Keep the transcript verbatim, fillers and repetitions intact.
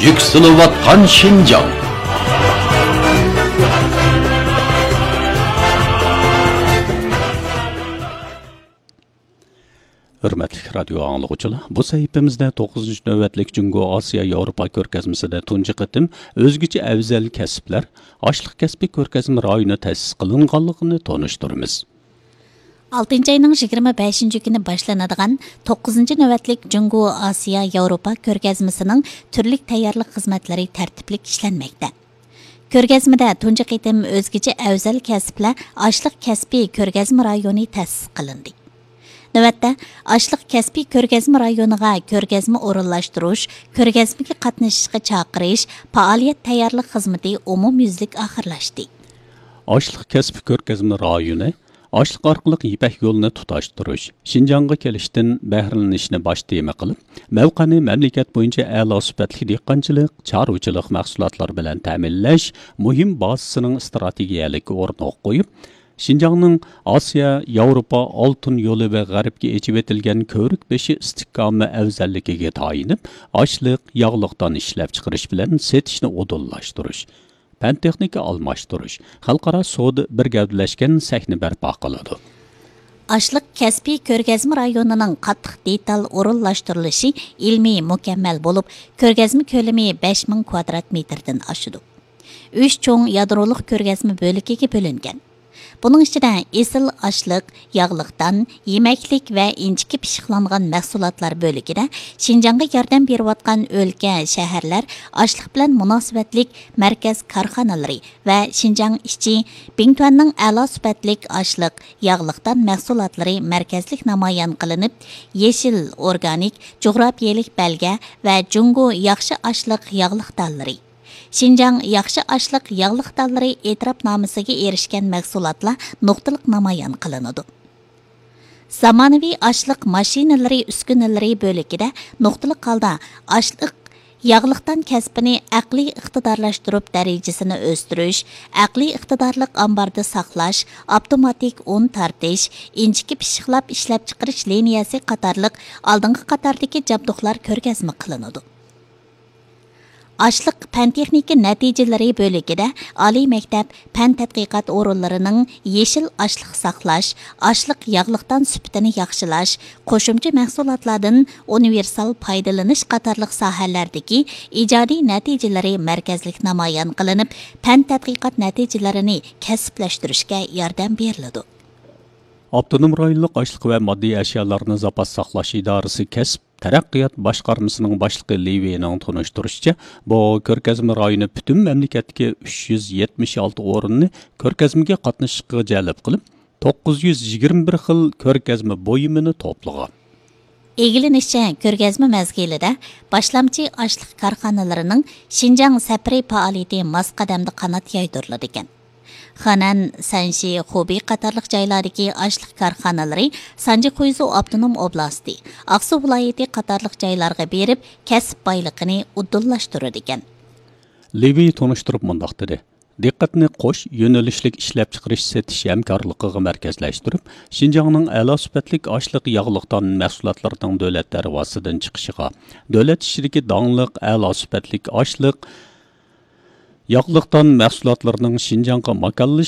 يۈكسىلىۋاتقان شىنجاڭ. ھۆرمەتلىك رادىيو ئاڭلىغۇچىلار، بۇ سەھىپىمىزدە توققۇزىنچى نۆۋەتلىك جۇڭگو ئاسىيا ياۋروپا كۆرگەزمىسىدە تۇنجى قېتىم ئۆزگىچە ئەۋزەل كەسىپلەر، ئاشلىق كەسپى كۆرگەزمە رايونى تەسىس قىلىنغانلىقىنى تونۇشتۇرىمىز. ئالتىنچى ئاينىڭ يىگىرمە بەشىنچى كۈنى باشلىنىدىغان توققۇزىنچى نۆۋەتلىك جۇڭگو ئاسىيا ياۋروپا كۆرگەزمىسىنىڭ تۈرلۈك تەييارلىق خىزمەتلىرى تەرتىپلىك ئىشلەنمەكتە. كۆرگەزمىدە تۇنجى قېتىم ئۆزگىچە ئەۋزەل كەسىپلەر ئاشلىق كەسپى كۆرگەزمە رايونى تەسىس قىلىندى. نۆۋەتتە، ئاشلىق كەسپى كۆرگەزمە رايونىغا كۆرگەزمە ئورۇنلاشتۇرۇش، كۆرگەزمىگە قاتنىشىشقا چاقىرىش، پائالىيەت تەييارلىق خىزمىتى ئومۇميۈزلۈك ئاخىرلاشتى. ئاشلىق كەسپى كۆرگەزمە رايونى ئاشلىق ئارقىلىق يىپەك يولىنى تۇتاشتۇرۇش، شىنجاڭغا كېلىشتىن بەھرىلىنىشنى باش تېما قىلىپ، مەۋقەنى مەملىكەت بويىچە ئەلا سۈپەتلىك دېھقانچىلىق، چارۋىچىلىق مەھسۇلاتلىرى بىلەن تەمىنلەش مۇھىم بازىسىنىڭ ئىستراتېگىيەلىك ئورنىغا قويۇپ، شىنجاڭنىڭ ئاسىيا، ياۋروپا ئالتۇن يولى ۋە غەربكە ئېچىۋېتىلگەن كۆۋرۈك بېشى ئىستىھكامى ئەۋزەللىكىگە تايىنىپ، ئاشلىق، ياغلىق دان ئىشلەپچىقىرىش بىلەن سېتىشنى ئۇدۇللاشتۇرۇش، پەن تېخنىكا ئالماشتۇرۇش، خەلقئارا سودا بىر گەۋدىلەشكەن سەھنە بەرپا قىلىدۇ. ئاشلىق كەسپىي كۆرگەزمە رايونىنىڭ قاتتىق دېتال ئورۇنلاشتۇرۇلۇشى ئىلمىي مۇكەممەل بولۇپ، كۆرگەزمە كۆلىمى بەش مىڭ كۋادرات مېتىردىن ئاشىدۇ. ئۈچ چوڭ يادرولۇق كۆرگەزمە بۆلىكىگە بۆلۈنگەن. بۇنىڭ ئىچىدە ئېسىل ئاشلىق، ياغلىق دان، يېمەكلىك ۋە ئىنچىكە پىششىقلانغان مەھسۇلاتلار بۆلىكىدە شىنجاڭغا ياردەم بېرىۋاتقان ئۆلكە، شەھەرلەر، ئاشلىق بىلەن مۇناسىۋەتلىك مەركەز كارخانىلىرى ۋە شىنجاڭ ئىچى، بىڭتۈەننىڭ ئەلا سۈپەتلىك ئاشلىق، ياغلىق دان مەھسۇلاتلىرى مەركەزلىك نامايان قىلىنىپ، يېشىل، ئورگانىك، جۇغراپىيەلىك بەلگە ۋە جۇڭگو ياخشى ئاشلىق ياغلىق دانلىرى، شىنجاڭ ياخشى ئاشلىق ياغلىق دانلىرى ئېتىراپنامىسىگە ئېرىشكەن مەھسۇلاتلار نۇقتىلىق نامايان قىلىنىدۇ. زامانىۋى ئاشلىق ماشىنىلىرى ئۈسكۈنىلىرى بۆلىكىدە نۇقتىلىق ھالدا ئاشلىق ياغلىق دان كەسپىنى ئەقلىي ئىقتىدارلاشتۇرۇپ دەرىجىسىنى ئۆستۈرۈش، ئەقلىي ئىقتىدارلىق ئامباردا ساقلاش، ئاپتوماتىك ئۇن تارتىش، ئىنچىكە پىششىقلاپ ئىشلەپچىقىرىش لىنىيەسى قاتارلىق ئالدىنقى قاتاردىكى جابدۇقلار كۆرگەزمە قىلىنىدۇ. ئاشلىق پەن تېخنىكا نەتىجىلىرى بۆلىكىدە ئالىي مەكتەپ پەن تەتقىقات ئورۇنلىرىنىڭ يېشىل ئاشلىق ساقلاش، ئاشلىق ياغلىق دان سۈپىتىنى ياخشىلاش، قوشۇمچە مەھسۇلاتلاردىن ئۇنىۋېرسال پايدىلىنىش قاتارلىق ساھەلەردىكى ئىجادىي نەتىجىلىرى مەركەزلىك نامايان قىلىنىپ، پەن تەتقىقات نەتىجىلىرىنى كەسىپلەشتۈرۈشكە ياردەم بېرىلىدۇ. ئاپتونوم رايونلۇق ئاشلىق ۋە ماددىي ئەشيالارنى زاپاس ساقلاش ئىدارىسى كەسىپ تەرەققىيات باشقارمىسىنىڭ باشلىقى لى ۋېينىڭ تونۇشتۇرۇشىچە، بۇ كۆرگەزمە رايونى پۈتۈن مەملىكەتتىكى ئۈچ يۈز يەتمىش ئالتە ئورۇننى كۆرگەزمىگە قاتنىشىشقا جەلپ قىلىپ، توققۇز يۈز يىگىرمە بىر خىل كۆرگەزمە بۇيۇمىنى توپلىغان. ئىگىلىنىشىچە، كۆرگەزمە مەزگىلىدە باشلامچى ئاشلىق كارخانىلىرىنىڭ شىنجاڭ سەپىرى پائالىيىتى ماس قەدەمدە قانات يايدۇرۇلىدىكەن. خېنەن، سەنشى، خۇبېي قاتارلىق جايلاردىكى ئاشلىق كارخانىلىرى سانجى خۇيزۇ ئاپتونوم ئوبلاستى، ئاقسۇ ۋىلايىتى قاتارلىق جايلارغا بېرىپ، كەسىپ بايلىقىنى ئۇدۇللاشتۇرىدىكەن. لېۋى تونۇشتۇرۇپ مۇنداق دېدى: دىققەتنى قوش يۆنىلىشلىك ئىشلەپچىقىرىش سېتىش ھەمكارلىقىغا مەركەزلەشتۈرۈپ، شىنجاڭنىڭ ئەلا سۈپەتلىك ئاشلىق ياغلىق دان مەھسۇلاتلىرىنىڭ دۆلەت دەرۋازىسىدىن چىقىشىغا، دۆلەت ئىچىدىكى داڭلىق ئەلا سۈپەتلىك ئاشلىق ياغلىق دان مەھسۇلاتلىرىنىڭ شىنجاڭغا ماكانلىشىشىغا